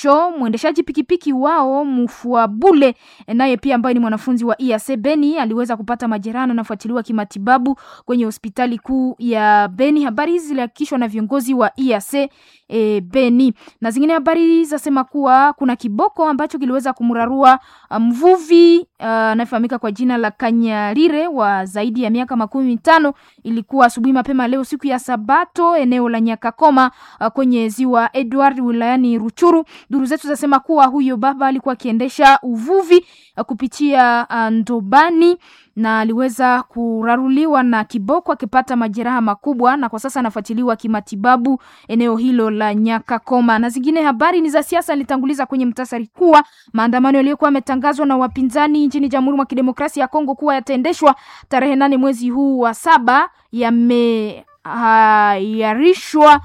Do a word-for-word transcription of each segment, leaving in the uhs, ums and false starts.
mwisho mwendeshaji pikipiki wao Mufuabule naye pia ambaye ni mwanafunzi wa I A C Beni aliweza kupata majeraha na anafuatiliwa kimatibabu kwenye hospitali kuu ya Beni. Habari hizi zilihakikishwa na viongozi wa I A C e, Beni. Na zingine habari zasema kuwa kuna kiboko ambacho kiliweza kumrarua mvuvi anayefahamika kwa jina la Kanyarire wa zaidi ya miaka makumi mitano. Ilikuwa asubuhi mapema leo siku ya Sabato eneo la Nyakakoma kwenye ziwa Edward wilayani Ruchuru. Duru zetu zasema kuwa huyo baba alikuwa akiendesha uvuvi kupitia ndobani na aliweza kuraruliwa na kiboko akipata majeraha makubwa, na kwa sasa anafuatiliwa kimatibabu eneo hilo la Nyakakoma. Na zingine habari ni za siasa, nilitanguliza kwenye mtasari kuwa maandamano yaliyokuwa yametangazwa na wapinzani nchini Jamhuri mwa Kidemokrasia ya Kongo kuwa yataendeshwa tarehe nane mwezi huu wa saba yameahirishwa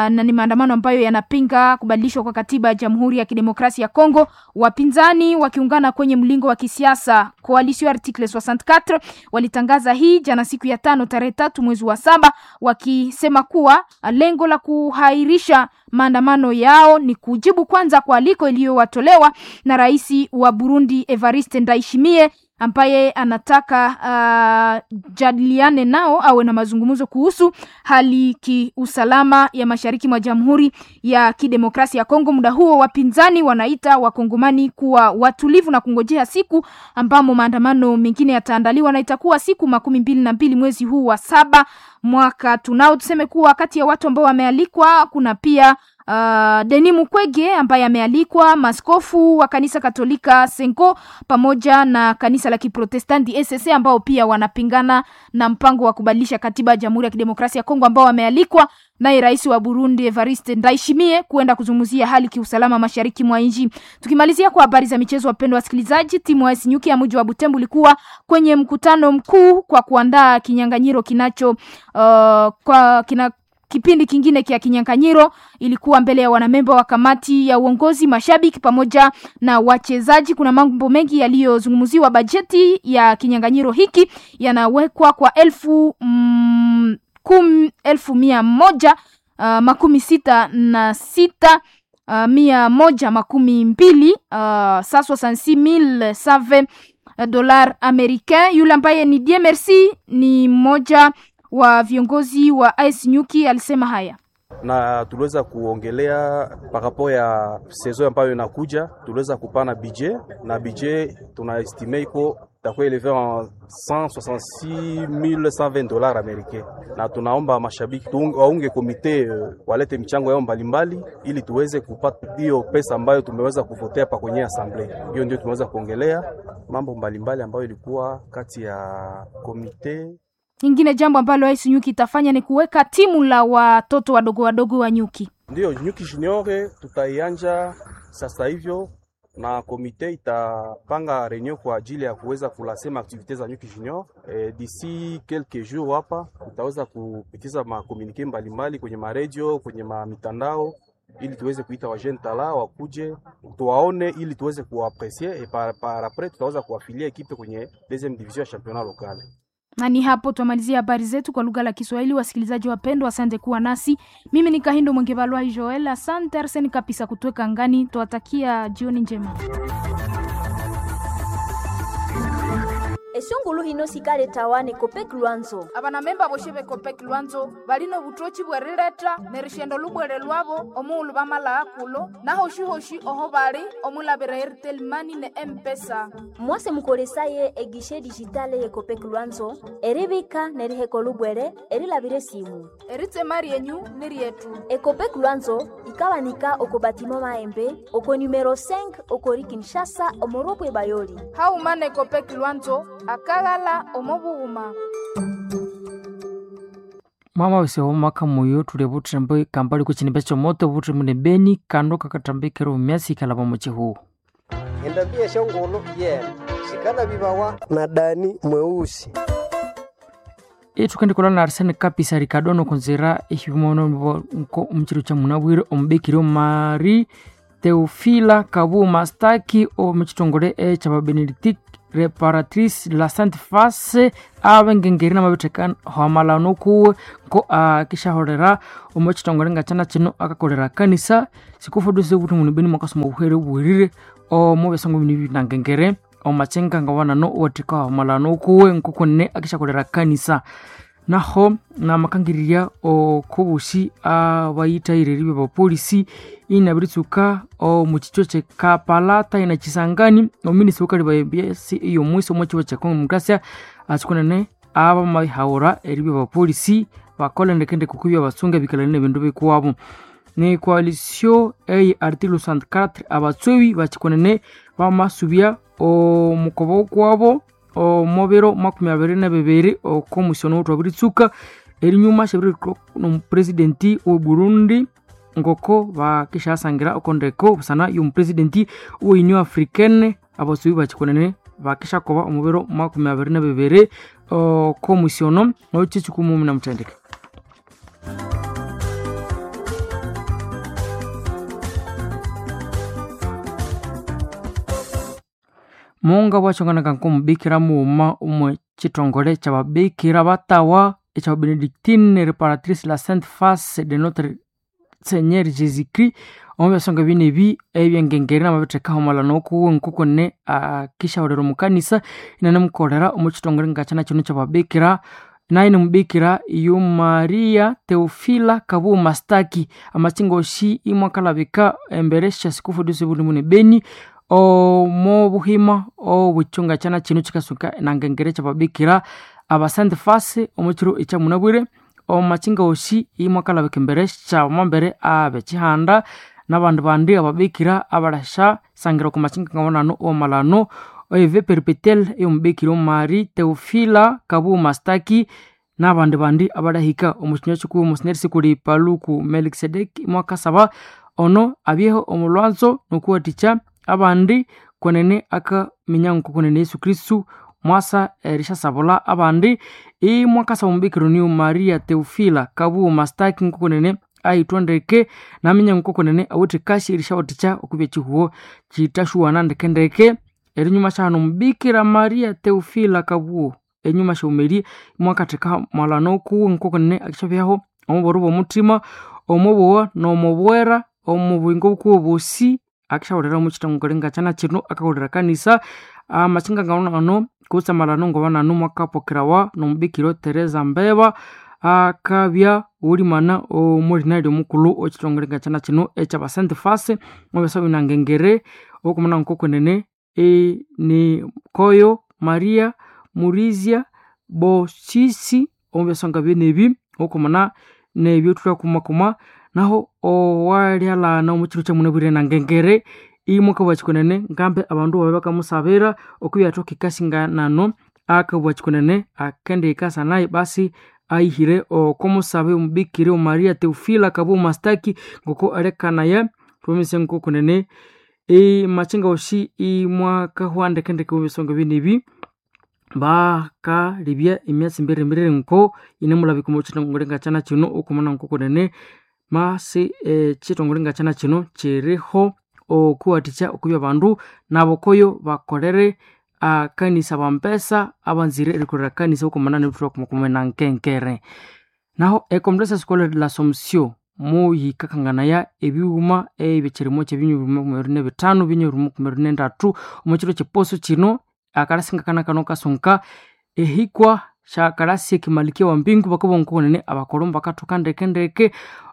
na ni maandamano ambayo yanapinga kubadilishwa kwa katiba ya Jamhuri ya Kidemokrasia ya Kongo. Wapinzani wakiungana kwenye mlingo wa kisiasa Coalition Article soixante-quatre walitangaza hii jana siku ya tano tarehe tatu mwezi wa saba, wakisema kuwa lengo la kuhairisha maandamano yao ni kujibu kwanza kwa aliko iliyowatolewa na rais wa Burundi Evariste Ndayishimiye ambaye anataka uh, jadiliane nao awe na mazungumzo kuhusu hali kiusalama ya mashariki mwa Jamhuri ya Kidemokrasia ya Kongo. Muda huo wapinzani wanaita wakongomani kuwa watulivu na kungojea siku ambamo maandamano mengine yataandaliwa na itakuwa siku makumi mbili na mbili mwezi huu wa saba mwaka tunao. Tuseme kuwa kati ya watu ambao wamealikwa kuna pia Uh, Denis Mukwege ambaye amealikwa, maskofu wa kanisa Katolika Senko pamoja na kanisa la Kiprotestanti S S ambao pia wanapingana na mpango wa kubadilisha katiba ya Jamhuri ya Kidemokrasia ya Kongo, ambao wamealikwa naye rais wa Burundi Evariste Ndayishimiye kuenda kuzungumzia hali kiusalama mashariki mwa nchi. Tukimalizia kwa habari za michezo, wapendwa wasikilizaji, timu ya A S Nyuki ya mji wa Butembo ilikuwa kwenye mkutano mkuu kwa kuandaa kinyang'anyiro kinacho uh, kwa kina kipindi kingine kia kinyang'anyiro. Ilikuwa mbele ya wanamemba wa kamati ya uongozi, mashabiki pamoja na wachezaji. Kuna mambo mengi yaliyozungumziwa. Bajeti ya kinyang'anyiro hiki yanawekwa kwa elfu, mm, kum, elfu mia moja uh, makumi sita na sita uh, mia moja makumi mbili uh, soixante-six mille cent vingt dollars américain. Yule ambaye ni Dieu Merci ni mmoja wa viongozi wa A S Nyuki alisema haya. Na tuliweza kuongelea par rapport ya saison ambayo inakuja, tuliweza kupana budget na budget tunaestime iko itakuwa eleve en cent soixante-six mille cent vingt dollars américains, na tunaomba mashabiki waunge komite walete michango yao mbalimbali ili tuweze kupata hiyo pesa ambayo tumeweza kuvotea pa kwenye assemblee. Hiyo ndio tumeweza kuongelea mambo mbalimbali ambayo ilikuwa kati ya komite. Ingine jambo ambalo A S Nyuki itafanya ni kuweka timu la watoto wadogo wadogo wa nyuki. Ndio Nyuki Junior tutaianja sasa hivyo, na komite itapanga reunion kwa ajili ya kuweza kulasema activite za Nyuki Junior. E, d'ici quelques jours hapa tutaweza kupitiza makomunike mbalimbali kwenye maredio, kwenye ma mitandao ili tuweze kuita wa jeune tala wakuje tuwaone ili tuweze kuapprécier et par, par après tutaweza kuafilia equipe kwenye deuxième division ya championnat local. Na ni hapo tumalizia habari zetu kwa lugha la Kiswahili. Wasikilizaji wapendwa, asante kuwa nasi. Mimi ni Kahindo Mwengebalwa Joel, asante Arsene Kapisa kutuweka ngani. Tuwatakia jioni njema. Esungulu hino sikale tawane Copec Lwanzo. Abana memba boshe be Copec Lwanzo balino butochi bwerileta nerishendo lubwere lwabo omuulu bamala akulo na hoshi hoshi oho bali omulabira Airtel Money ne M-Pesa. Mwase mukolesaye egishe digitale ye Copec Lwanzo eribika neriheko lubwere erilabire simu. Eritsemari yenyu nirietu. E Copec Lwanzo ikawanika oko batimo maembe oko numero cinq okori Kinshasa omoropwe bayoli. Haumane Copec Lwanzo akagala omobuhuma. Mama wese omaka moyo tule butrembe kambali kuchinimba chomoto butrembe ne beni kando kakatambikiro myasi kalaba muchihu. Endambia shongolo yena sikala bibawa na dani mweusi. Itukandi na Arsene Kapisa Ricardo konzera ihimono nko umchiro cha munabwire ombekiro Mari Teofila Kabu Mastaki o muchitongole e cha Benedict Reparatrice de la Sainte Face abengengeri namabitheka hamalano kuwe nko akishaholera omo chitongole ngachana chino akakolera kanisa sikufodoze kuti munu beni mwakasoma obuhere obuhirire omo byasango bino binangengere omachenga ngawanano owatheka hamalano kuwe nkokunene akishakolera kanisa. Naho namakangirira okobushi abayithaire ribya bapolisi inabiritsuka omukicho kyekapalata ina Kisangani ominisi wukali babyesi eyomwisi omo kiwa kya Congo Demokrasia asikunene abamabihaura eribya bapolisi bakola ndekendeke okubya basunga ebikalani nebindu bikuwabo. Ne coalition eye article sesenta e quatro abatswebi bakikunene bamasubya omukobo kwabo omubiro makumi abiri na bibiri okomusiono thwabiritsuka erinyuma syabirithwa nomupresidenti we Burundi ngoko bakishasangira okondeko busana yomupresidenti we Union Africaine abasubi bakikunene bakishakoba omubiro makumi abiri na bibiri okomusiono okyekyikumumi namuthendeke. Munga bwachonganaka nkomubikira mughuma omwe chitongole kyababikira batawa ekya Benedictine Reparatrice la Sainte Face de Notre Seigneur Jésus-Christ omu byasonga bine ebi ebyengengeri namabitheka hamalano kuwe nkokone akishaholera omukanisa inanemukolera omu chitongole ngakyana kino kyababikira naye nimubikira iyo Maria Teofila Kabuo Mastaki amachingoshi imwakalabika embere syasikufu disibulimune Beni omo buhima obuchunga chana chino chikasuka nangengere kyababikira aba Sainte Face omukiro ekyamunabwire omachinga oshi imwakalabika embere syamambere abekihanda nabandi bandi ababikira abalasha sangira oku machinga ngawonano omalano eve perpetuel eyomubikira Marie Teofila Kabuo Mastaki nabandi bandi abalahika omukinywa kikuwu omusineri sikuli Paluku Melkisedeki imwakasaba ono abyeho omulwanzo nokuwathikya abandi kwenene akaminya nkokunene Yesu Kristu mwasa erishasabula abandi imwakasa omubikiro niyo Maria Teofila Kabuo Mastaki nkokunene aithwa ndeke naminya nkokunene awithe kashi erishawathikya okubya ekihuho kitashuwana ndekendeke. Erinyuma syahano omubikira Maria Teofila Kabuo enyuma syaumerie imwakatheka mwalano kuwe nkokunene akishabyaho omuboro bw'omuthima omubowa n'omubwera omubuyingo bukuwe bosi akishaholera omukitongole ngakyana kino akaholera kanisa amachinga ngawonano kutse amalano ngobanano mwakapokerawa nomubikira Teresa Mbeba akabya wulimana omulinali omukulhu okitongole ngakyana kino ekyaba Sainte Face mwabyasa binangengere okumana nkokunene e, ni Koyo Maria Murizia Bosisi omubyasonga byenebi okumana nebyo thulhakumakuma naho owalyalhana omukiro kyamunabwire nangengere imwakabugha kikunene ngambe abandu babe bakamusabira okubya ikasinganano akabugha kikunene akendihikasa naye basi aihire okomusabe omubikira Maria Teofila Kabuo Mastaki ngoko alekanaya tumise nkokunene emachinga oshi imwakahwa ndekendeke mubisonga binebi bakalibya emyatsi mbirimbiri nko inemulabika omukitongole ngakyana kino okumana nkokunene masi ekitongole ngakyana kino kiriho okuwathikya okubya abandu nabokoyo bakolere akanisa bampesa abanzire erikolera kanisa okumana nebithwa kumakuma nankenkere. Naho ecomplexe scolaire de l'Assomption muyikakanganaya ebighuma ebyekirimo kyebinywa makumi abiri nebithanu binywa makumi abiri nendatu omukiro kyeposo kino akalasi ngakana kano kasunka ehikwa syakalasi ekimalikia wa mbingu bakabugha nkokunene abakolombo bakathoka ndekendeke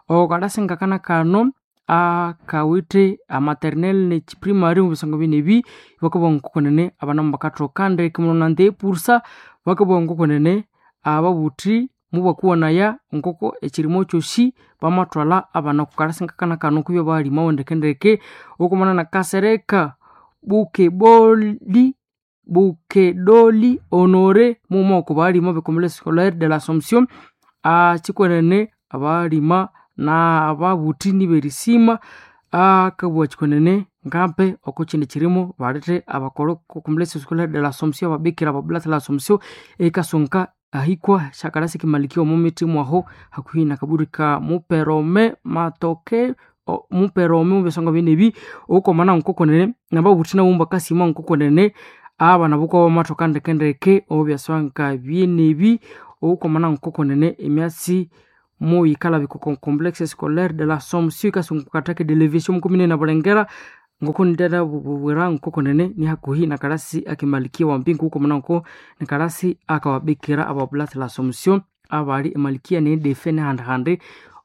okalasi ngakana kano akawithe amaternel nekiprimary mubisonga binebi bakabugha nkokunene abana mubakathoka ndeke muno nandi epursa bakabugha nkokunene ababuthi mubakuwanaya ngoko ekirimo kyosi bamathwalha abana okukalasi ngakana kano kubya bahalimawo ndekendeke okumana na Kasereka Bukeboli Bukedoli Honore muma oko balima becomplexe scolaire de l'Assomption akikwenene abalima n'ababuthi niberisima akabugha kikwenene ngampe oko kindi kirimo balethe abakolho complexe scolaire de l'Assomption ababikira ababulata l'Assomption ekasunka ahikwa syakalasi kimalikia omo mithi mwaho hakuhi nakaburi ka muperome matoke muperome mubisonga binebi okomana nkokonene nababuthi nabo mbakasima nkokonene Abana buko bamathoka ndekendeke obyaswanka byenebi okomana nkokonene emyatsi muyikala bikoko complexe scolaire de la Somption ikasungu katake de l'évêché mukomine na Bulengera ngoko ndera bubwera nkokonene ni hakuhi na kalasi akimalikia wa mpingu ukomana nko ni kalasi akawabikira abablati la Somption abali emalikia ne defe ne handahande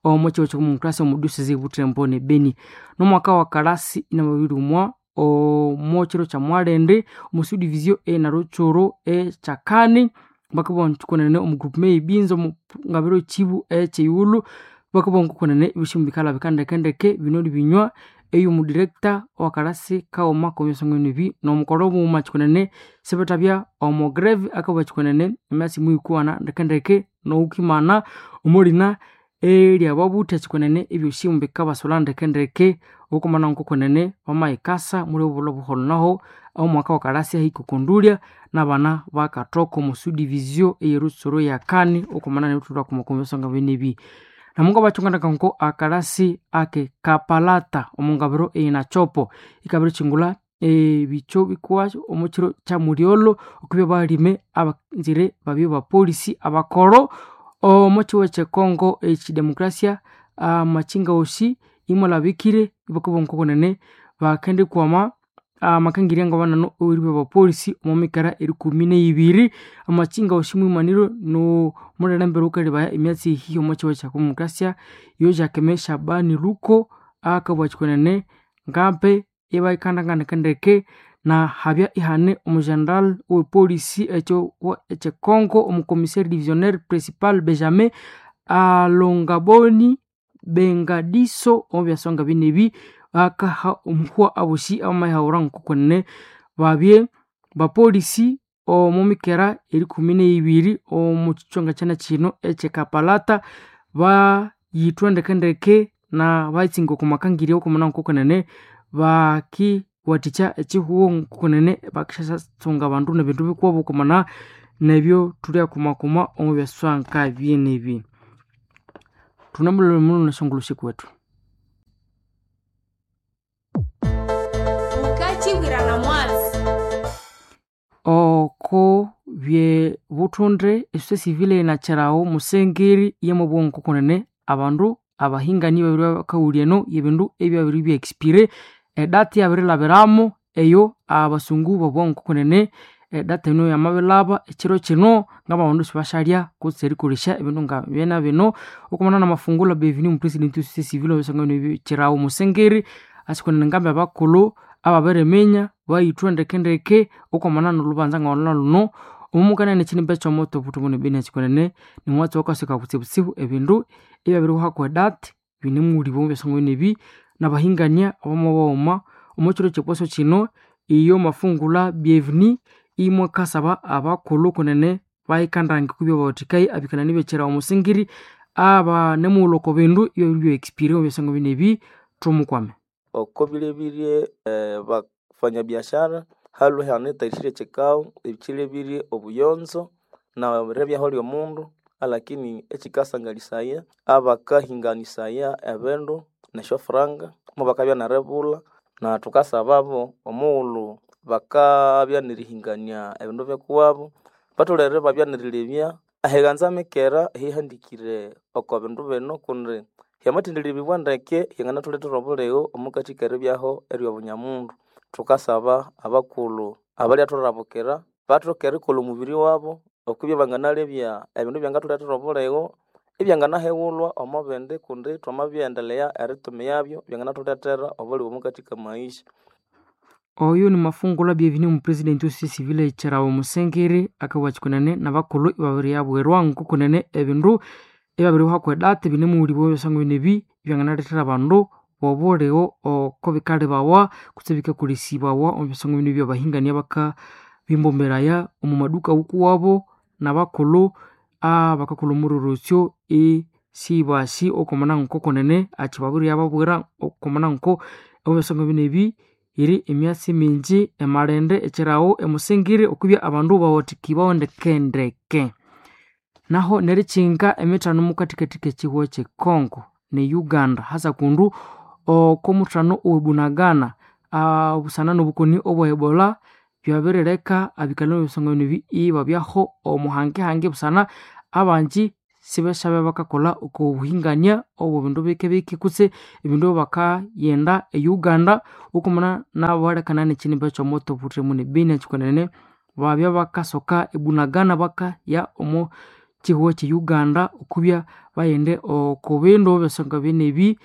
omo chiwo chokumukasa omudusizi Butembo ne Beni. Nomwaka wa kalasi ina mabiri umwa omo chiro cha Mwalende omu subdivision e na Ruchuru e Chakani bakabona tukonene omu groupe ibinzo mu ngabiro chibu e cheyulu bakabona kukonene ibishimbi bikala bikandekendeke binoli binywa eyo mu director wa kalasi kaoma komyosongo bi nomukolo muma chikonene sebetabya omo greve akaba chikonene emyasi muikuana ndekendeke noukimana omulina erya babutha chikonene ebyoshimbi bikabasola ndekendeke okumana nkokonene bamaikasa muli obulo buholo naho omwaka wa kalasi ahikukundulya n'abana bakatoko mu subdivision eyerutsuro yakani okumana nebuthulwa kumakomyosonga benebi. Namunga bachungana nko akalasi ake kapalata omungabiro einachopo ikabiro chingula ebicho bikwa omukiro kya muryolo okubya balime abanzire babyo ba polisi abakoro omukiwo kye Congo ekidemokrasia amachinga osi imulabikire ibakuba nkokonene bakende kwama amakangirya nga banano oribe ba polisi omumikara erikumi neibiri amachinga osi mwimaniro no mulelembere ukalibaya emyatsi ihi omukiwo kya demokrasia yo Jacquemain Shabani Luko akabwa chikonene ngampe ibaikandangandekendeke na habya ihane omugeneral we polisi ekyo ekye Congo omucommissaire divisionnaire principal Benjamin Alongaboni Bengadiso omubyasonga binebi akaha omuhwa abosi abamaihawura nkokonene babye bapolisi omumikera erikumi neibiri omu kichonga kyana kino ekyekapalata bayithwa ndekendeke na bayitsinga okumakangirya okumana nkokonene bakiwathikya ekihuho nkokonene bakisyasunga abandu nebindu bikuwabo okumana nebyo thulyakumakuma omu byaswanka byenebi. Thunamulole muno neshongolo kwethu. Ukachibwirana mwatsi oko bye buthunde esose civile inakyerawo musengeri yemubwongo kunene abandu abahingani babiri bakawulya eno yebindu ebyabiri bya expire edati yabirilabiramo eyo abasungu bobwongo kunene edata eno yamabilaba ekiro kino ngababandu sibashalya kutse erikolesya ebindu nga byena bino okumana namafungula bevini omupresident wesose civile obisangano kyerawo musengeri asikonene ngambi abakulhu ababiriminya bayithwa ndekendeke okwamana nolhubanza ngawalhulha luno omumukanene ekinimba ekyomoto obuthumbu nebeni ekikonene nimwatsi wakasuka kutsibutsibu ebindu ebyabirihwako edati binemuwulibwa omu byasonga nebi nabahingania abamabawoma omukiro kyeposo kino iyo mafungula bienvenue imwakasaba abakulhu kunene bayikandange kubya bawathikayi abikalani bekyera omusingiri abanemughulha oko bindu ebyabiri bya expire omu byasonga binebi thumukwame. Oko bilebirye eh, bafanyabiashara halwe hanetayishire chikao ekilebirye obuyonzo na rebyaho lyomundu alakini ekikasangalisaya abakahinganisaya ebindu nesyofuranga mubakabya nerebulha na thukasababo omughulhu bakabya nerihingania ebindu byekuwabo batholere babya nerilebya ahiganza mikera ehihandikire oko bindu bino kundi hyamathendilebibwa ndeke hyanganathuletera obuligho omukathi keribyaho eryobunyamundu. Thukasaba abakulhu abalyathurabukira bathoke erikolha omubiri wabo okwibya banganalebya ebindu ebyangathulethera obuligho ebyanganahighulhwa omo bindi kundi thwamabyaendelea eritumiyabyo byanganathulethera obuligho omukathi kamaisha. Oyo ni mafungula bienvenue omupresident wesose civile ekyerawo musengeri akabugha kikunene nabakulhu ibabiriyabwirwa nkokunene ebindu ebyabirihwako edati binemuwulibwa ebyasonga binebi ebyanganalethera abandu bobuligho oko bikalibawa kutse bikakolesibawa omu byasonga binebi abahingania bakabimbomeraya omu maduka wukuwabo nabakulhu abakakolha omurorosyo esibasi okwamana nkokunene akibabiriyababwira okwamana nko omu byasonga binebi yiri emyatsi mingi emalende ekyerawo emusingiri okwibya abandu bawathikibwawo ndekendeke. Naho nerikyinga emithano mukathikathi kekihugho kye Congo ne Uganda hasa kundu oko muthano owebunagana obusana nobukoni obwa Ebola byabirileka abikalani b'ebisonga bino ibabyaho omuhangehange busana abanji sibeshabe bakakolha oko buhingania obwo bindu bike-bike kutse ebindu bakayenda e Uganda okumana nabalekana nekinimba ekyomoto buthemu ne Beni ekikwenene babya bakasoka ebunagana bakaya omo kihugho kye Uganda okubya bayende oko bindu ebisonga binebi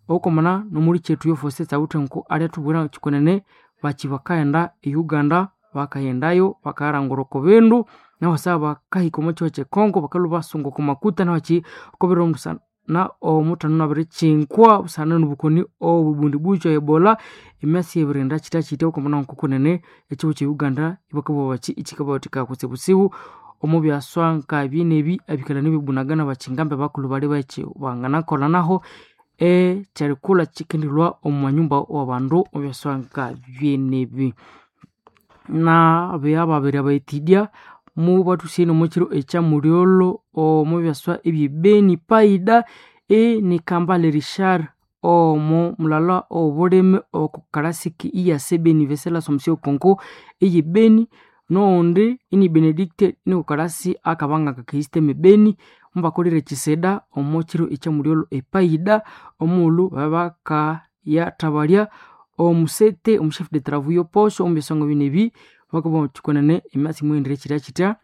okumana nomuli kyethu yofosi tsawithe nko alyathubwira kikwenene baki bakaghenda e Uganda bakaghendayo bakarangura oko bindu naho sa bakahika omo kihugho kye Congo bakalhwa basunga oko makuta naho ki okobiro busana omuthano nabirikinkwa busana nobukoni obubundibukyo Ebola emyasi ebirinda kitya kitya okumana nkokunene ekihugho kye Uganda ibakabugha baki ikikabawathikaya kutsibutsibu omo byaswa nkabinebi abikalani b'ebunagana bakingambe bakulhu bali baki banganakolha naho ekyerikulha kikendilhwa omu manyumba w'abandu omu byaswa nkabyenebi nabeya babiri abayitidya mubathusyaine omo kiro ekyamulyolho omu byaswa eby'ebeni paida ini Kambale Richard omo mulala ow'obulimi oko kalasiki iyase Beni Vesela Assomption Congo eye Beni noghundi ini Benedicte niko kalasi akabanga kakihisteme Beni mubakolire ekisida omo kiro ekyamulyolho epaida omughulhu babakayathabalya omusete omuchef de travaux yoposho omu byasonga binebi bakabugha kikwenene emyatsi mughendire kyitya kyitya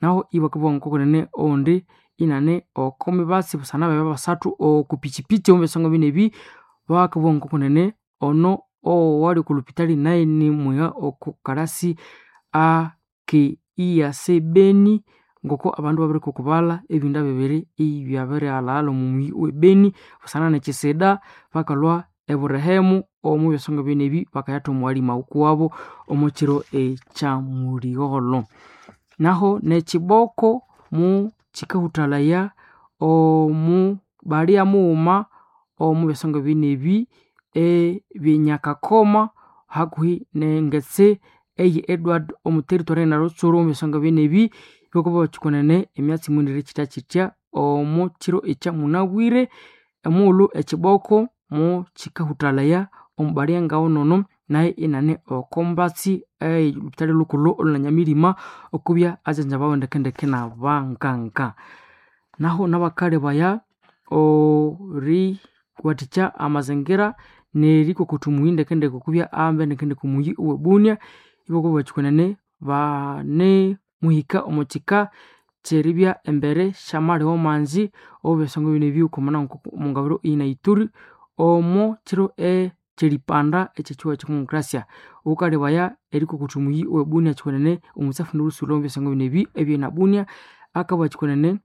naho ibakabugha ngokunene oghundi inane oko mibatsi busana babya basathu oku pichipichi omu byasonga binebi bakabugha ngokunene ono owali oku lupitali naye nimwiha oko kalasi ake iyase Beni ngoko abandu babirikukubalha ebinda bibiri ibyabirighalhaghalha omu muyi owe Beni busana nekisida bakalhwa eburehemu omu byasonga binebi bakayatha omwalima wukuwabo omo kiro ekyamulyolho naho nekiboko mu kikahuthalaya omu balya mughuma omu byasonga binebi ebyenyakakoma hakuhi nengetse eye Edward omu territory narutsuru omu byasonga binebi ibakabugha bathi emyatsi mughendire kyitya kyitya omo kiro ekyamunabwire omughulhu ekiboko mu kikahuthalaya omu balya ngawunono naye inane oko mbatsi olhupitali lhukulhu olhunanyamirima okubya ajanjabawa ndekendeke nabanganga naho nabakalebaya oriwathikya amazingira nerikokotha omuyi ndekendeke okubya ahambe ndekendeke omuyi owe Bunia ibakabugha bathi kwenene banemuhika omo kika kyeribya embere syamaliho manzi obu byasonga bino okumana omungabiro eyina Ituri omo kiro ekyeripanda ekyekihugho ekyedemocracia ghukalebaya erikokotha omuyi owe Bunia kikwenene omutsafu nolhusulha omu byasonga bino ebi ebyina Bunia akabugha kikwenene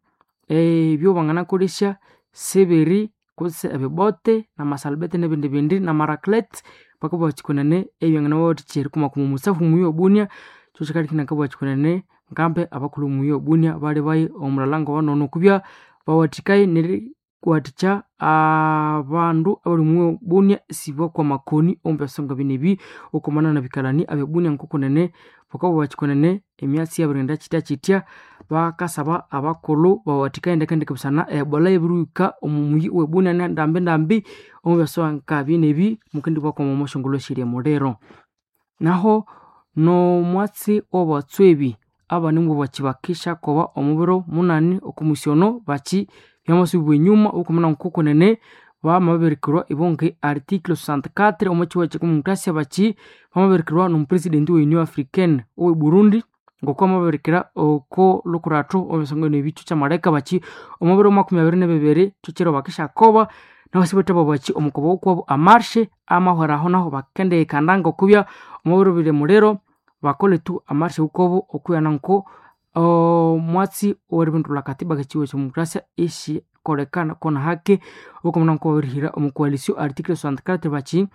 ebyo banganakolesya sibiri kutse ebibote namasalubete nebindi bindi namaraclete bakabugha kikwenene ebyanganabawathikya erikumakuma omutsafu omuyi owe Bunia kyo kyikaleka inakabugha kikwenene ngambe abakulhu omuyi owe Bunia balibaye omulala ngawanono okubya bawathikaye neriwathikya abandu abali omuyi owe Bunia isibakwa amakoni omu byasonga bino ebi okumana nabikalani abe Bunia ngokunene bakabugha bathi kwenene emyatsi yabirighenda kyitya kyitya bakasaba abakulhu bawathikaye ndekendeke busana Ebola yabirihika omu muyi owe Bunia ndambi ndambi omu byasonga bino ebi mukendibwakwama omo syongulho syerya muliro naho nomwatsi owabatswebi abandi bakibakishakoba omu biro munani okomusyono baki byamasubibwa enyuma okumana nkokunene bamabirikirwa ibonge article sixty-four omo kihugho ekyedemocracia baki bamabirikirwa nomupresident we Union Africaine owe Burundi ngoko amabirikira oko lukurathu omu byasonga bino ebi kyamaleka baki omu biro makumi abiri nibibiri kyo kiro bakishakoba naho sibethe baki omukobo wukuwabo amarshe amahweraho naho bakendihikanda ngokubya omu biro biri muliro bakole tu amarshe wukuwabo okwighana nko omwatsi oweribindulha katiba kekihugho ekyedemocracia ishikolekana kona hake okumana nko babirihira omu coalition article sixty-four baki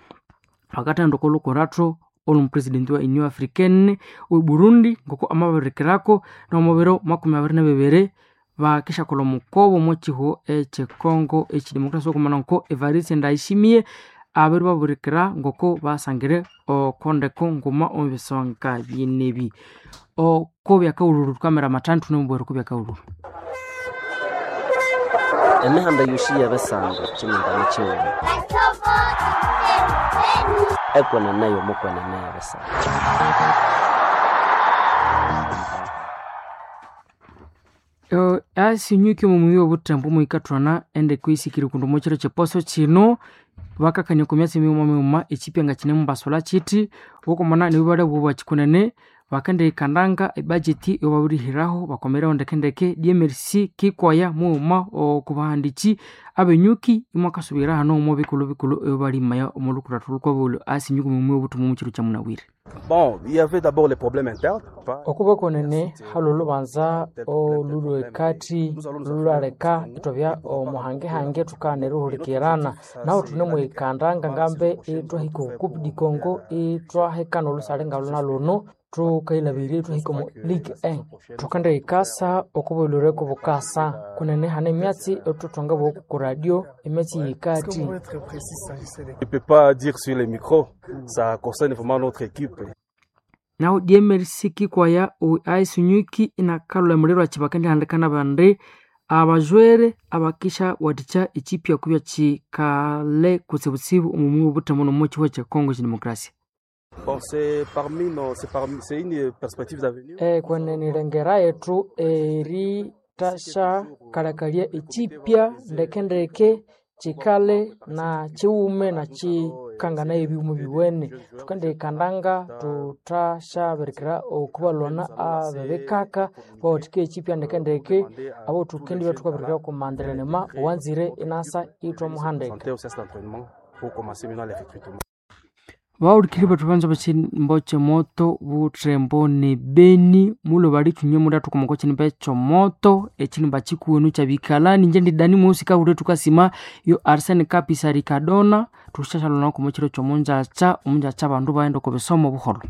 bakathaghenda oko lukurathu olwomupresident wa Union Africaine owe Burundi ngoko amabirikirako nomu biro makumi abiri nibibiri bakishakolha omukobo omo kihugho ekye Congo ekyedemocracia okumana nko Evariste Ndayishimiye abiribabirikira ngoko basangire oko ndeko nguma omu bisonga binebi oko byakahululu thukamira amathanu thune oko byakahululu Emihanda yosi yebisando kyimindani kyighuma ekwenene yomukwenene yebisando. Asinyuki omumuyi obutembo muhikathwana ende kwisikiri kundu omukiro kyeposo kino bakakania oku myatsi mighuma mighuma ekipya nga kinemubasulha kithi wukomana nibibale bwobakikunene bakendihikandanga ebudget eyababirihiraho bakomereho ndekendeke D M R C kikwaya mughuma okubahandiki abenyuki imwakasubira hano omo bikulhu bikulhu ebibalimaya omo lukurathu lukwabolhu asinyuki omumuyi obuthuma omukiro kyamunabwire. Bon, il y avait d'abord les problèmes internes. Okuba konene hali olubanza olulwe ekati lulwaleka ithwabya omuhangehange thukana erihulikirana nahu thune mwikandanga ngambe ithwahika oku Coupe du Congo ithwahikana olusale ngaluna luno thukayilhabirya ithwahika omu Ligue one. Thukendihikasa okubulhwire kubukasa kunene hane emyatsi ethuthwangabugha oku radio emyatsi yikati. Je peux pas dire sur les micros, ça concerne vraiment notre équipe. Nahu D M R C kikwaya aisinyuki inakalhula emuliro akibakendihandikana bandi abajwere abakisha wathikya ekipya kubya kikale kutsibutsibu omumuyi obuthemu nomu kihugho kya Congo kidemokrasia. Bon, c'est parmi nos, c'est parmi, c'est une perspective d'avenir. Eh, kwenene yethu eritasha kalakalya ekipya ndekendeke kikale na kiwume na kikangana ebiwuma biwene thukendihikandanga thuthashabirikira okubalwana abebikaka bawathika ekipya ndekendeke abo thukendibya thukabirikira okumandiranema owanzire inasa ithwamuhandika. Bawulikiri bethu banza bakimbo kyemoto buthembo ne Beni mulo bali thunywe muda thukomoko kinimba ekyomoto ekinimba kikuwenu kyabikalani inje ndi Dani Mweusi kabule thukasima yo Arsene Kapisa Ricardona thusyashalona komo kiro kyomunjakya omunjakya abandu baghenda oko bisomo buholho.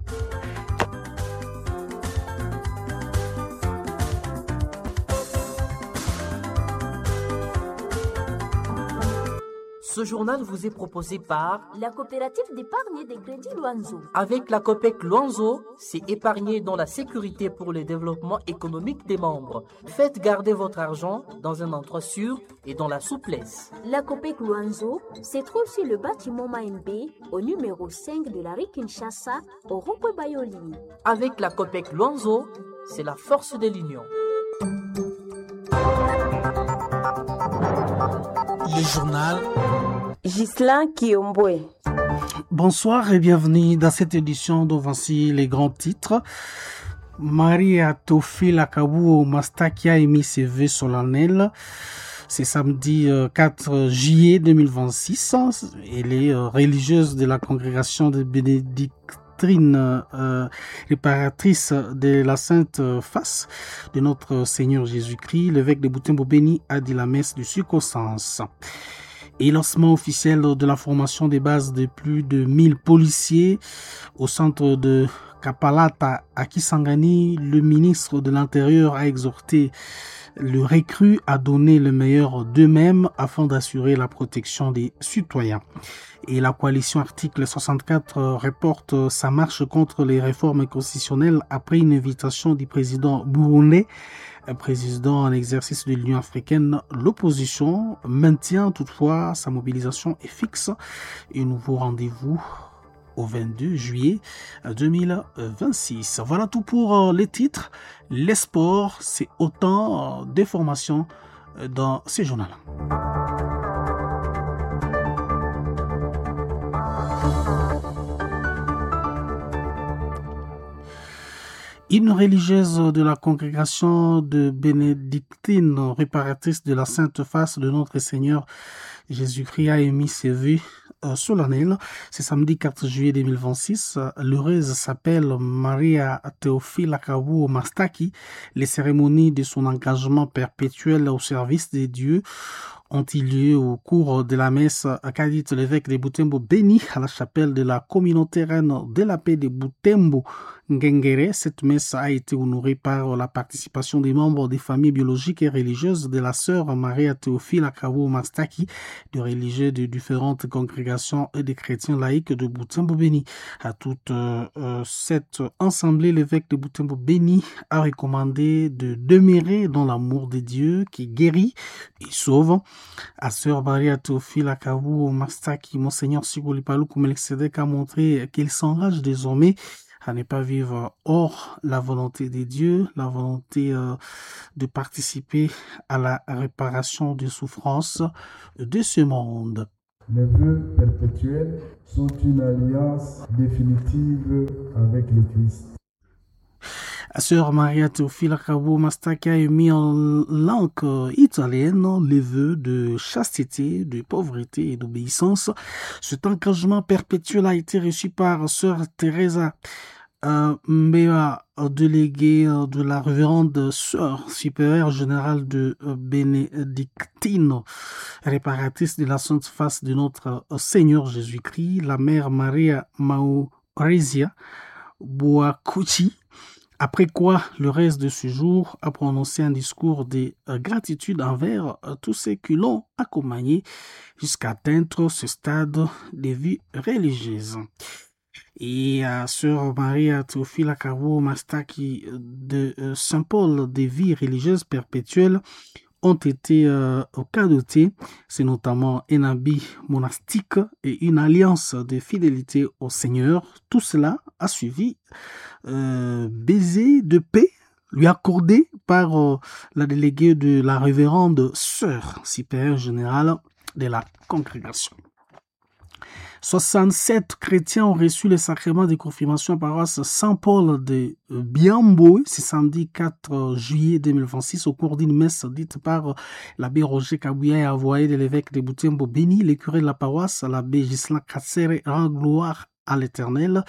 Ce journal vous est proposé par la coopérative d'épargne des crédits Luanzo. Avec la COPEC Luanzo, c'est épargner dans la sécurité pour le développement économique des membres. Faites garder votre argent dans un endroit sûr et dans la souplesse. La COPEC Luanzo se trouve sur le bâtiment Maembe, au numéro cinq de la rue Kinshasa, au rond-point Bayoli. Avec la COPEC Luanzo, c'est la force de l'union. Le journal Ghislain Kiombwe. Bonsoir et bienvenue dans cette édition dont voici les grands titres. Maria Tofila Kabuo Mastaki a émis ses vœux solennels. C'est samedi quatre juillet deux mille vingt-six. Elle est religieuse de la congrégation de bénédictines euh, réparatrice de la Sainte Face de notre Seigneur Jésus-Christ. L'évêque de Butembo Beni a dit la messe de circonstance. Et lancement officiel de la formation des bases de plus de mille policiers au centre de Kapalata à Kisangani, le ministre de l'Intérieur a exhorté le recrue à donner le meilleur d'eux-mêmes afin d'assurer la protection des citoyens. Et la coalition article soixante-quatre reporte sa marche contre les réformes constitutionnelles après une invitation du président burundais, président en exercice de l'Union africaine. L'opposition maintient toutefois sa mobilisation et fixe un nouveau rendez-vous au vingt-deux juillet deux mille vingt-six. Voilà tout pour les titres. Les sports, c'est autant d'informations dans ces journaux. Une religieuse de la congrégation de bénédictines réparatrice de la Sainte Face de notre Seigneur Jésus-Christ a émis ses vœux solennels. C'est samedi quatre juillet deux mille vingt-six. L'heureuse s'appelle Maria Théophile Akabu Mastaki. Les cérémonies de son engagement perpétuel au service des dieux ont eu lieu au cours de la messe qu'a dite l'évêque de Butembo Beni à la chapelle de la communauté reine de la paix de Butembo Ngengere. Cette messe a été honorée par la participation des membres des familles biologiques et religieuses de la sœur Maria Théophile Akabu Mastaki, de religieux de différentes congrégations et des chrétiens laïcs de Butembo Beni. À toute euh, cette assemblée, l'évêque de Butembo Beni a recommandé de demeurer dans l'amour de Dieu qui guérit et sauve. À sœur Maria Théophile Akabu Mastaki, Monseigneur Sikuli Paluku Melchizedek a montré qu'il s'engage désormais à ne pas vivre hors la volonté de Dieu, la volonté euh, de participer à la réparation des souffrances de ce monde. Les vœux perpétuels sont une alliance définitive avec le Christ. Sœur Maria Teofila Cabo Mastaki a émis en langue italienne les vœux de chasteté, de pauvreté et d'obéissance. Cet engagement perpétuel a été reçu par Sœur Teresa euh, Mbea, déléguée de la révérende Sœur supérieure générale de Bénédictine, réparatrice de la Sainte Face de notre Seigneur Jésus-Christ, la Mère Maria Maurizia Boacucci. Après quoi, le reste de ce jour a prononcé un discours de gratitude envers tous ceux qui l'ont accompagné jusqu'à atteindre ce stade de vie religieuse. Et à Sœur Maria Théophile Cabo Mastaki de Saint-Paul des vies religieuses perpétuelles ont été euh, cadeautés. C'est notamment un habit monastique et une alliance de fidélité au Seigneur. Tout cela a suivi euh, baiser de paix lui accordé par euh, la déléguée de la révérende sœur supérieure générale de la congrégation. soixante-sept chrétiens ont reçu le sacrement de confirmation à paroisse Saint-Paul de Biambo ce samedi quatre juillet deux mille vingt-six au cours d'une messe dite par l'abbé Roger Kabouya et avoyé de l'évêque de Butembo Béni, le curé de la paroisse, l'abbé Ghislain Katsere, rend gloire à l'Éternel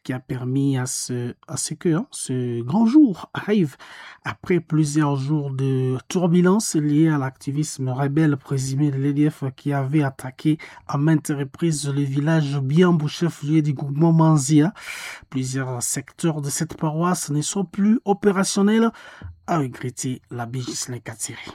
qui a permis à ce, à ce que hein, ce grand jour arrive après plusieurs jours de turbulences liées à l'activisme rebelle présumé de l'E D F qui avait attaqué à maintes reprises le village Biambo, chef-lieu du groupement Manzia. Plusieurs secteurs de cette paroisse ne sont plus opérationnels, a regretté l'abbé Ghislain Katsiri.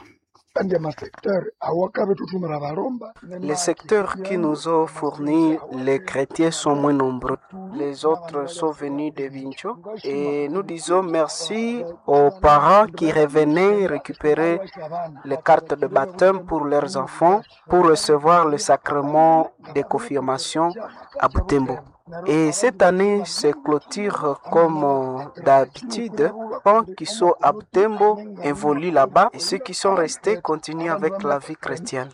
Les secteurs qui nous ont fourni les chrétiens sont moins nombreux. Les autres sont venus de Bincho et nous disons merci aux parents qui revenaient récupérer les cartes de baptême pour leurs enfants pour recevoir le sacrement de confirmation à Butembo. Et cette année se clôture comme d'habitude. Ceux qui sont à Butembo évoluent là-bas et ceux qui sont restés continuent avec la vie chrétienne.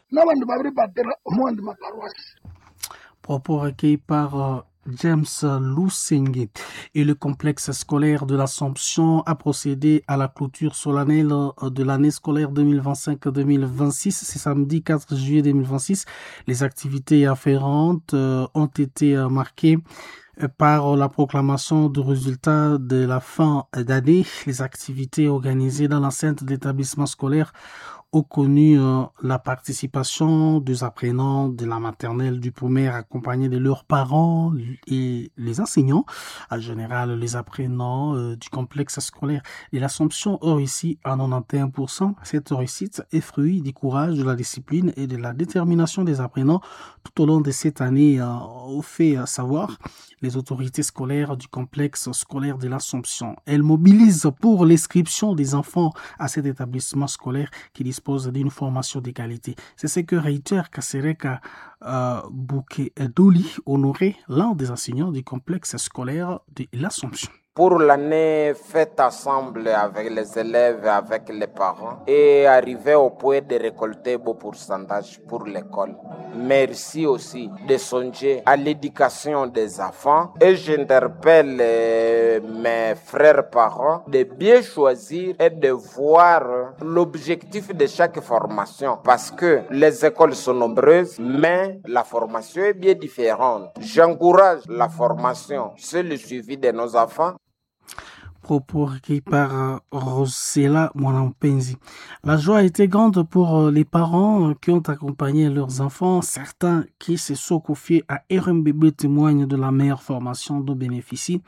Propos recueillis par James Lusenge. Et le complexe scolaire de l'Assomption a procédé à la clôture solennelle de l'année scolaire deux mille vingt-cinq deux mille vingt-six. C'est samedi quatre juillet deux mille vingt-six. Les activités afférentes ont été marquées par la proclamation du résultat de la fin d'année. Les activités organisées dans l'enceinte de l'établissement scolaire ont connu euh, la participation des apprenants de la maternelle du primaire accompagnés de leurs parents et les enseignants. En général, les apprenants euh, du complexe scolaire de l'Assomption ont réussi à quatre-vingt-onze pour cent. Cette réussite est fruit du courage, de la discipline et de la détermination des apprenants tout au long de cette année, euh, au fait savoir les autorités scolaires du complexe scolaire de l'Assomption. Elles mobilisent pour l'inscription des enfants à cet établissement scolaire qui dispose d'une formation de qualité. C'est ce que réitère Kasereka euh, Bouké-Doli, honoré, l'un des enseignants du complexe scolaire de l'Assomption. Pour l'année faite ensemble avec les élèves, avec les parents, et arriver au point de récolter beau pourcentage pour l'école. Merci aussi de songer à l'éducation des enfants et j'interpelle mes frères parents de bien choisir et de voir l'objectif de chaque formation parce que les écoles sont nombreuses, mais la formation est bien différente. J'encourage la formation, c'est le suivi de nos enfants. Propos recueillis par Rosella Mwanampenzi. La joie a été grande pour les parents qui ont accompagné leurs enfants. Certains qui se sont confiés à R M B B témoignent de la meilleure formation dont bénéficient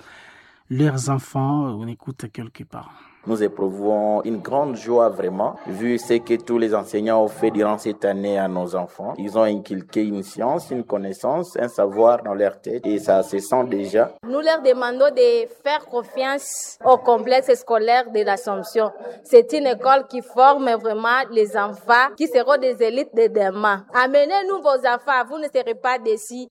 leurs enfants. On écoute quelques parents. Nous éprouvons une grande joie vraiment, vu ce que tous les enseignants ont fait durant cette année à nos enfants. Ils ont inculqué une science, une connaissance, un savoir dans leur tête et ça se sent déjà. Nous leur demandons de faire confiance au complexe scolaire de l'Assomption. C'est une école qui forme vraiment les enfants qui seront des élites de demain. Amenez-nous vos enfants, vous ne serez pas déçus.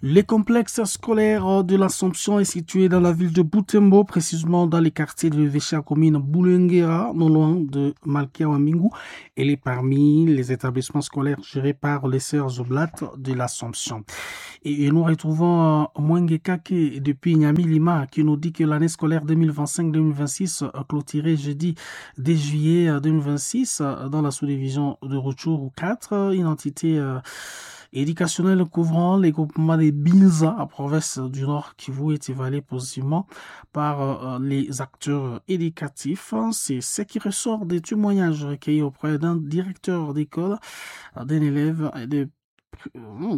Le complexe scolaire de l'Assomption est situé dans la ville de Butembo, précisément dans les quartiers de l'évêché à commune Bulengera, non loin de Malkia Wamingu. Elle est parmi les établissements scolaires gérés par les sœurs Oblates de l'Assomption. Et, et nous retrouvons Mwenge Kake depuis Nyamilima qui nous dit que l'année scolaire deux mille vingt-cinq deux mille vingt-six clôturée jeudi dès juillet deux mille vingt-six dans la sous-division de Rutshuru quatre, une entité euh, éducationnelle couvrant les groupements des Binza à province du Nord Kivu est évalué positivement par euh, les acteurs éducatifs. C'est ce qui ressort des témoignages recueillis auprès d'un directeur d'école, d'un élève et de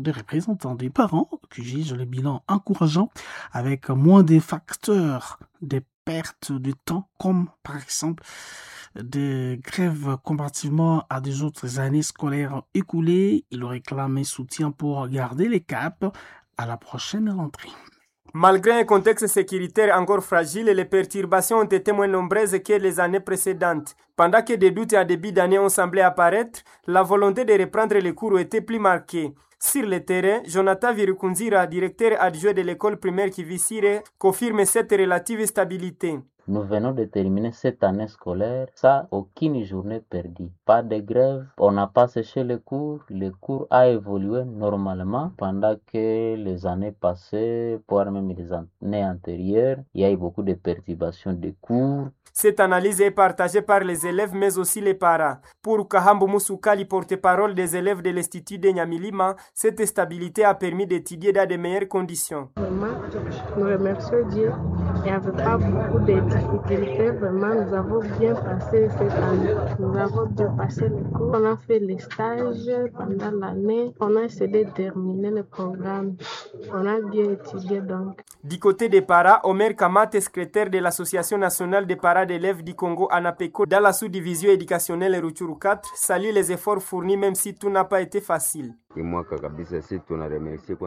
des représentants des parents qui jugent le bilan encourageant avec moins de facteurs de perte de temps comme par exemple des grèves comparativement à des autres années scolaires écoulées. Il réclame soutien pour garder les caps à la prochaine rentrée. Malgré un contexte sécuritaire encore fragile, les perturbations ont été moins nombreuses que les années précédentes. Pendant que des doutes à début d'année ont semblé apparaître, la volonté de reprendre les cours était plus marquée. Sur le terrain, Jonathan Virukunzira, directeur adjoint de l'école primaire Kivisire, confirme cette relative stabilité. Nous venons de terminer cette année scolaire sans aucune journée perdue. Pas de grève, on n'a pas séché les cours, le cours a évolué normalement pendant que les années passées, voire même les années antérieures, il y a eu beaucoup de perturbations de cours. Cette analyse est partagée par les élèves mais aussi les parents. Pour Kahambu Musukali, porte-parole des élèves de l'Institut de Nyamilima, cette stabilité a permis d'étudier dans de meilleures conditions. Vraiment, nous remercions Dieu. Il n'y avait pas beaucoup de difficultés. Vraiment, nous avons bien passé cette année. Nous avons bien passé le cours. On a fait les stages pendant l'année. On a essayé de terminer le programme. On a bien étudié donc. Du côté des parents, Omer Kamate, secrétaire de l'Association nationale des parents d'élèves du Congo ANAPECO dans la sous-division éducationnelle Rutshuru quatre, salue les efforts fournis même si tout n'a pas été facile.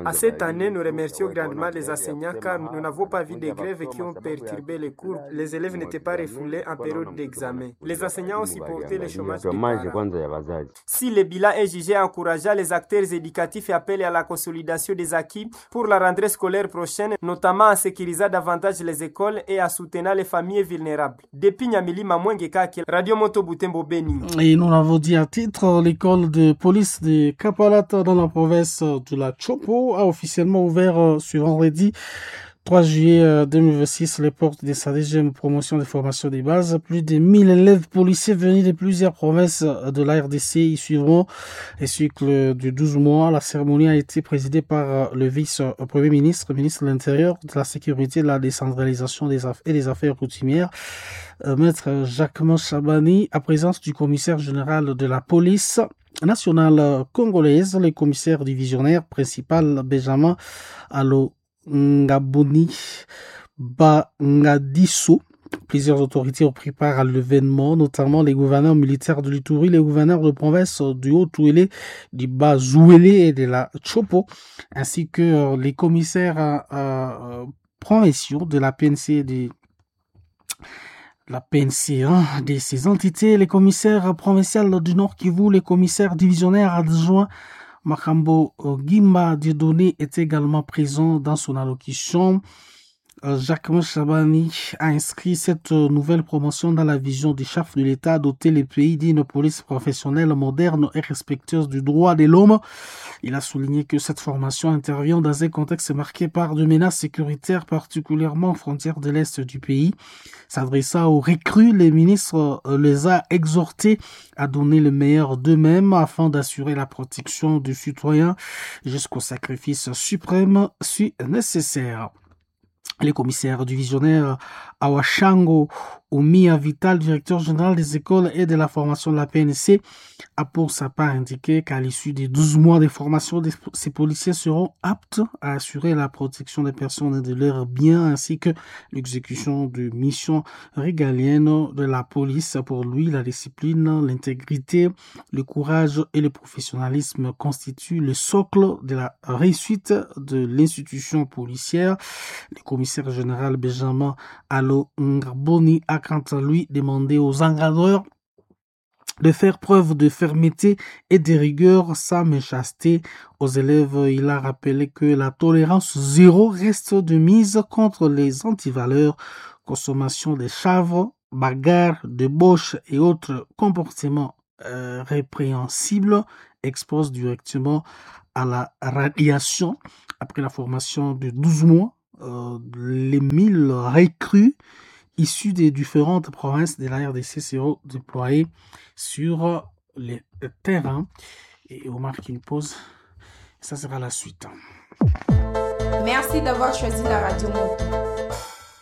À cette année, nous remercions grandement les enseignants car nous n'avons pas vu de grèves qui ont perturbé les cours. Les élèves n'étaient pas refoulés en période d'examen. Les enseignants ont supporté le chômage des parents. Si le bilan est jugé encourageant, les acteurs éducatifs appellent à la consolidation des acquis pour la rentrée scolaire prochaine, notamment en sécurisant davantage les écoles et en soutenant les familles vulnérables. Depuis Nyamilima, Mwenge Kake, Radio Moto Butembo Beni. Et nous l'avons dit à titre, l'école de police de Kapalata dans la province de la Chopo a officiellement ouvert ce vendredi trois juillet deux mille vingt-six les portes de sa deuxième promotion de formation des bases. Plus de mille élèves policiers venus de plusieurs provinces de la R D C y suivront un cycle de douze mois. La cérémonie a été présidée par le vice-premier ministre, ministre de l'Intérieur, de la Sécurité, de la décentralisation des aff- et des Affaires coutumières, Maître Jacquemain Chabani, à présence du commissaire général de la police nationale congolaise, le commissaire divisionnaire principal Benjamin Allo Ngaboni Bangadiso. Plusieurs autorités ont pris part à l'événement, notamment les gouverneurs militaires de l'Ituri, les gouverneurs de province du Haut-Ouélé, du Bas-Ouélé et de la Chopo, ainsi que les commissaires euh, provinciaux de la P N C de la P N C, hein, de ces entités, les commissaires provinciaux du Nord Kivu, les commissaires divisionnaires adjoints Makambo Gimba Dieudonné est également présent dans son allocution. Jacques Chabani a inscrit cette nouvelle promotion dans la vision du chef de l'État, doter les pays d'une police professionnelle moderne et respectueuse du droit de l'homme. Il a souligné que cette formation intervient dans un contexte marqué par des menaces sécuritaires, particulièrement aux frontières de l'Est du pays. S'adressant aux recrues, les ministres les a exhortés à donner le meilleur d'eux-mêmes afin d'assurer la protection du citoyen jusqu'au sacrifice suprême si nécessaire. Les commissaires divisionnaires Awashango Oumia Vital, directeur général des écoles et de la formation de la P N C, a pour sa part indiqué qu'à l'issue des douze mois de formation, ces policiers seront aptes à assurer la protection des personnes et de leurs biens ainsi que l'exécution de missions régaliennes de la police. Pour lui, la discipline, l'intégrité, le courage et le professionnalisme constituent le socle de la réussite de l'institution policière. Le commissaire général Benjamin Allo Ngaboni a quant à lui demandé aux encadreurs de faire preuve de fermeté et de rigueur sans méchanceté aux élèves. Il a rappelé que la tolérance zéro reste de mise contre les antivaleurs, consommation des chavres, bagarres, débauches et autres comportements euh, répréhensibles expose directement à la radiation. Après la formation de douze mois, euh, les mille recrues issus des différentes provinces de la R D C seront déployés sur les terrains. Et on marque une pause. Ça sera la suite. Merci d'avoir choisi la radio Moto.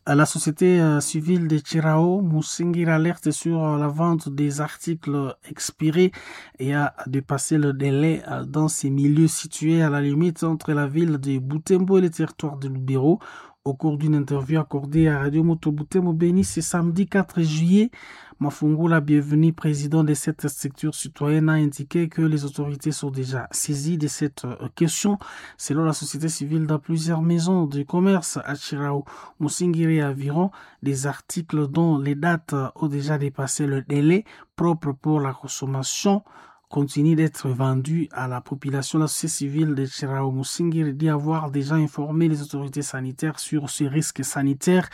La société civile de Chirao, Moussinguir, alerte sur la vente des articles expirés et a dépassé le délai dans ces milieux situés à la limite entre la ville de Butembo et le territoire de Lubero. Au cours d'une interview accordée à Radio Moto Butembo Beni ce samedi quatre juillet, Mafungula Bienvenu, président de cette structure citoyenne, a indiqué que les autorités sont déjà saisies de cette question. Selon la société civile, dans plusieurs maisons de commerce à Chirao, Musingiri et environ, des articles dont les dates ont déjà dépassé le délai propre pour la consommation continue d'être vendu à la population. La société civile de Chirao Musingiri dit avoir déjà informé les autorités sanitaires sur ce risque sanitaire.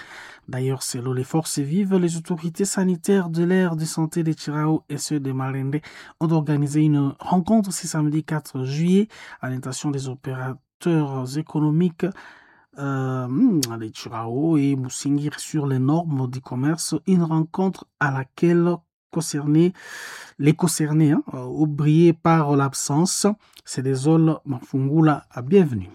D'ailleurs, selon les forces vives, les autorités sanitaires de l'aire de santé de Chirao et ceux de Malende ont organisé une rencontre ce samedi quatre juillet à l'intention des opérateurs économiques euh, de Chirao et Musingiri sur les normes du commerce. Une rencontre à laquelle concernés, les concernés, hein, oubliés par l'absence. C'est désolé, Mafungula, bienvenue.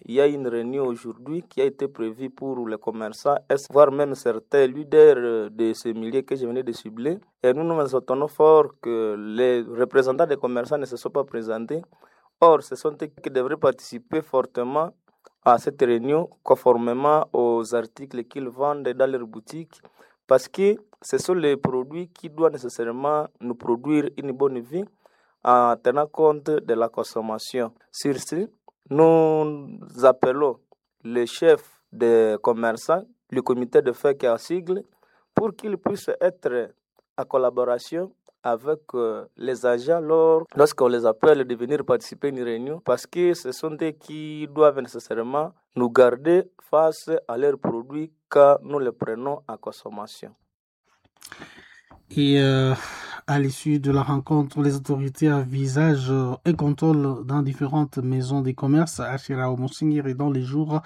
Il y a une réunion aujourd'hui qui a été prévue pour les commerçants, voire même certains leaders de ce milieu que je venais de cibler. Et nous nous attendons fort que les représentants des commerçants ne se soient pas présentés. Or, ce sont eux qui devraient participer fortement à cette réunion, conformément aux articles qu'ils vendent dans leur boutique, parce que ce sont les produits qui doivent nécessairement nous produire une bonne vie en tenant compte de la consommation. Sur ce, nous appelons les chefs des commerçants, le comité de fête à sigle, pour qu'ils puissent être en collaboration avec les agents lors, lorsqu'on les appelle de venir participer à une réunion, parce que ce sont eux qui doivent nécessairement nous garder face à leurs produits quand nous les prenons en consommation. Et euh, à l'issue de la rencontre, les autorités envisagent un contrôle dans différentes maisons de commerce à Chirao Musingiri dans les jours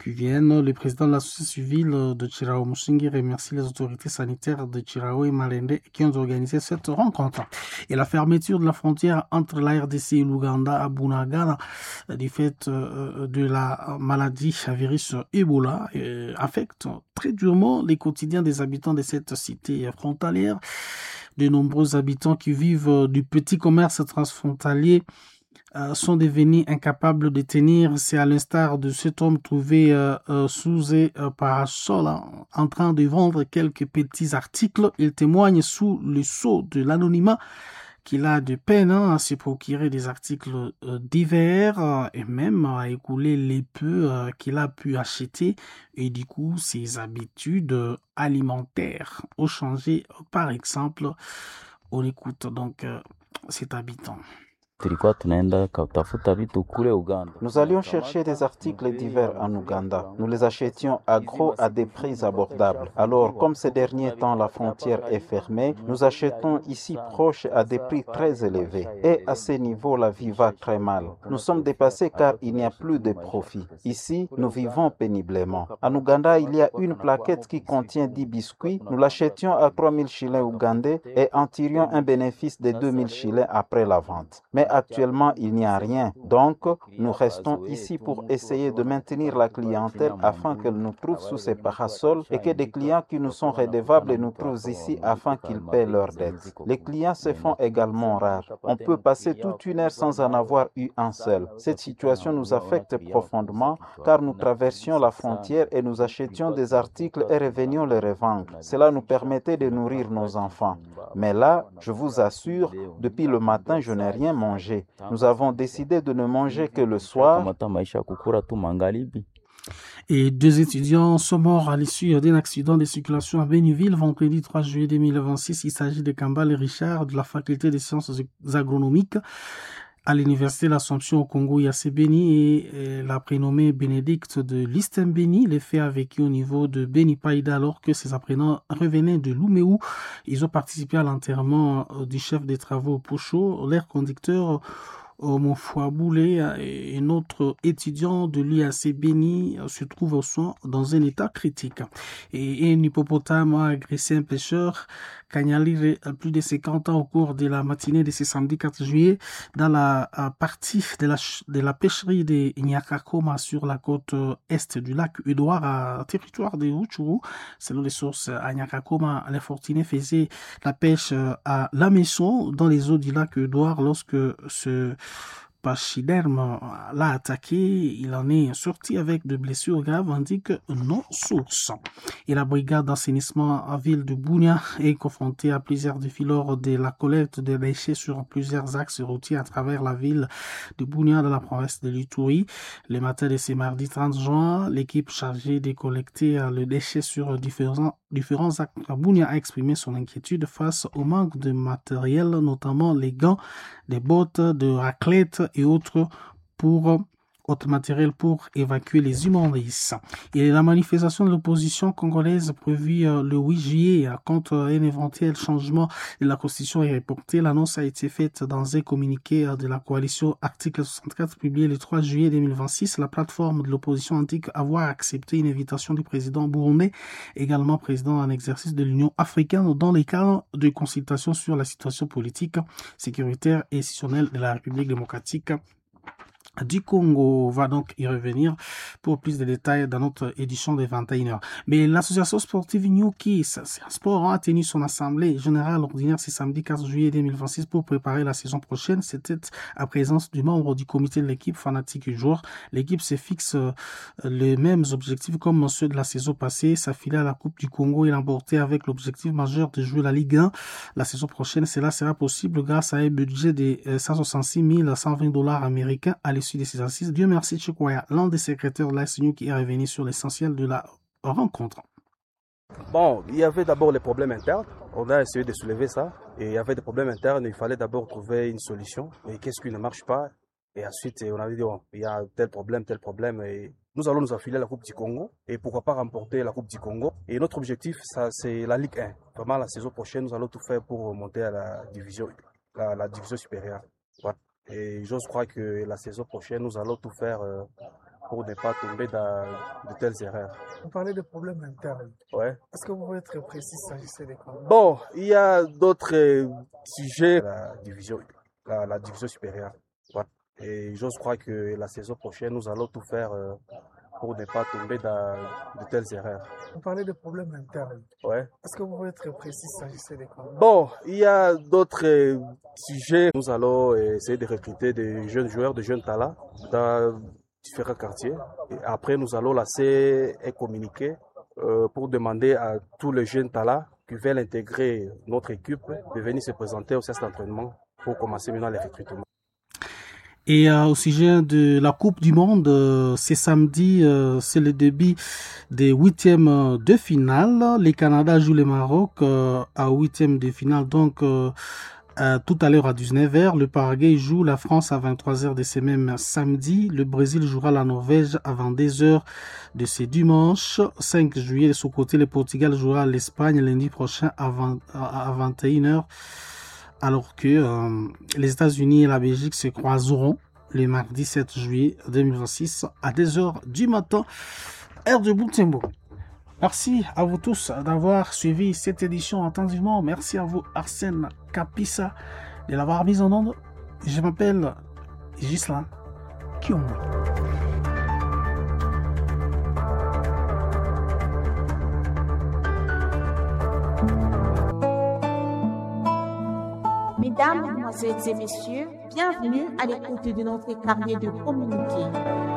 qui viennent. Le président de la société civile de Chirao Musingiri remercie les autorités sanitaires de Chirao et Malende qui ont organisé cette rencontre. Et la fermeture de la frontière entre la R D C et l'Ouganda à Bunagana du fait de la maladie à virus Ebola affecte très durement les quotidiens des habitants de cette cité frontalière. De nombreux habitants qui vivent du petit commerce transfrontalier euh, sont devenus incapables de tenir. C'est à l'instar de cet homme trouvé euh, euh, sous un parasol hein, en train de vendre quelques petits articles. Il témoigne sous le sceau de l'anonymat qu'il a de peine hein, à se procurer des articles euh, divers euh, et même à écouler les peu euh, qu'il a pu acheter. Et du coup, ses habitudes alimentaires ont changé. Par exemple, on écoute donc euh, cet habitant. Nous allions chercher des articles divers en Ouganda. Nous les achetions à gros à des prix abordables. Alors, comme ces derniers temps la frontière est fermée, nous achetons ici proche à des prix très élevés. Et à ce niveau, la vie va très mal. Nous sommes dépassés car il n'y a plus de profit. Ici, nous vivons péniblement. En Ouganda, il y a une plaquette qui contient dix biscuits. Nous l'achetions à trois mille shillings ougandais et en tirions un bénéfice de deux mille shillings après la vente. Mais actuellement, il n'y a rien. Donc, nous restons ici pour essayer de maintenir la clientèle afin qu'elle nous trouve sous ces parasols et que des clients qui nous sont redevables nous trouvent ici afin qu'ils paient leurs dettes. Les clients se font également rares. On peut passer toute une heure sans en avoir eu un seul. Cette situation nous affecte profondément car nous traversions la frontière et nous achetions des articles et revenions les revendre. Cela nous permettait de nourrir nos enfants. Mais là, je vous assure, depuis le matin, je n'ai rien mangé. Nous avons décidé de ne manger que le soir. Et deux étudiants sont morts à l'issue d'un accident de circulation à Béniville vendredi trois juillet deux mille vingt-six. Il s'agit de Kambale Richard de la faculté des sciences agronomiques à l'université de l'Assomption au Congo, I A C Beni, et la prénommée Bénédicte de Listembeni. Les faits a vécu au niveau de Beni Païda alors que ses apprenants revenaient de Louméou. Ils ont participé à l'enterrement du chef des travaux Pocho. L'air conducteur Mofouaboulé et un autre étudiant de l'I A C Beni se trouve au soin dans un état critique. Et un hippopotame a agressé un pêcheur Kanyalire plus de cinquante ans au cours de la matinée de ce samedi quatre juillet dans la partie de la, de la pêcherie de Nyakakoma sur la côte est du lac Edouard à territoire de Rutshuru. Selon les sources, à Nyakakoma, les fortunés faisaient la pêche à la maison dans les eaux du lac Edouard lorsque ce pachyderme l'a attaqué. Il en est sorti avec de blessures graves, indique nos sources. Et la brigade d'assainissement à ville de Bunia est confrontée à plusieurs défis lors de la collecte de déchets sur plusieurs axes routiers à travers la ville de Bunia dans la province de l'Ituri. Le matin de ce mardi trente juin, l'équipe chargée de collecter le déchet sur différents, différents axes à Bunia a exprimé son inquiétude face au manque de matériel, notamment les gants, des bottes, de raclette et autres pour autres matériel pour évacuer les immondices. Et la manifestation de l'opposition congolaise prévue le huit juillet contre un éventuel changement de la Constitution est reportée. L'annonce a été faite dans un communiqué de la coalition Article soixante-quatre publié le trois juillet deux mille vingt-six. La plateforme de l'opposition indique avoir accepté une invitation du président burundais, également président en exercice de l'Union africaine, dans les cadres de consultation sur la situation politique, sécuritaire et institutionnelle de la République démocratique du Congo. On va donc y revenir pour plus de détails dans notre édition des vingt et une heures. Mais l'association sportive Nyuki, c'est un sport, a tenu son assemblée générale ordinaire ce samedi quatre juillet deux mille vingt-six pour préparer la saison prochaine. C'était à présence du membre du comité de l'équipe fanatique du joueur. L'équipe se fixe les mêmes objectifs comme ceux de la saison passée, s'affiler à la Coupe du Congo et l'emporter avec l'objectif majeur de jouer la Ligue un la saison prochaine. Cela sera possible grâce à un budget de cent soixante-six mille cent vingt dollars américains à l'issue de ces assises. Dieu merci Chikwaya, l'un des secrétaires de la S N U qui est revenu sur l'essentiel de la rencontre. Bon, il y avait d'abord les problèmes internes. On a essayé de soulever ça. Et il y avait des problèmes internes. Il fallait d'abord trouver une solution. Et qu'est-ce qui ne marche pas? Et ensuite, on avait dit, bon, il y a tel problème, tel problème. Et nous allons nous affiler à la Coupe du Congo. Et pourquoi pas remporter la Coupe du Congo? Et notre objectif, ça, c'est la Ligue un. Vraiment, la saison prochaine, nous allons tout faire pour monter à la division, la, la division supérieure. Voilà. Et j'ose croire que la saison prochaine, nous allons tout faire pour ne pas tomber dans de telles erreurs. Vous parlez de problèmes internes. Ouais. Est-ce que vous pouvez être précis, s'agissait des quoi? Bon, il y a d'autres sujets. La division, la, la division supérieure. Ouais. Et j'ose croire que la saison prochaine, nous allons tout faire pour ne pas tomber dans de telles erreurs. Vous parlez de problèmes internes. Ouais. Est-ce que vous pouvez être précis, s'agissait des quoi? Bon, il y a d'autres sujets. Nous allons essayer de recruter des jeunes joueurs, de jeunes talents dans différents quartiers. Et après, nous allons lancer un communiqué pour demander à tous les jeunes talents qui veulent intégrer notre équipe de venir se présenter au centre d'entraînement pour commencer maintenant les recrutements. Et euh, au sujet de la Coupe du Monde, euh, c'est samedi, euh, c'est le début des huitièmes de finale. Le Canada joue le Maroc euh, à huitième de finale, donc euh, euh, tout à l'heure à dix-neuf heures. Le Paraguay joue la France à vingt-trois heures de ce même samedi. Le Brésil jouera la Norvège à vingt-deux heures de ce dimanche cinq juillet. De son côté, le Portugal jouera l'Espagne lundi prochain à, vingt, à vingt et une heures. Alors que euh, les États-Unis et la Belgique se croiseront le mardi sept juillet deux mille vingt-six à deux heures du matin, heure de Butembo. Merci à vous tous d'avoir suivi cette édition attentivement. Merci à vous Arsène Kapissa de l'avoir mise en onde. Je m'appelle Ghislain Kiombo. Mesdames, Mesdemoiselles et Messieurs, bienvenue à l'écoute de notre carnet de communiqué.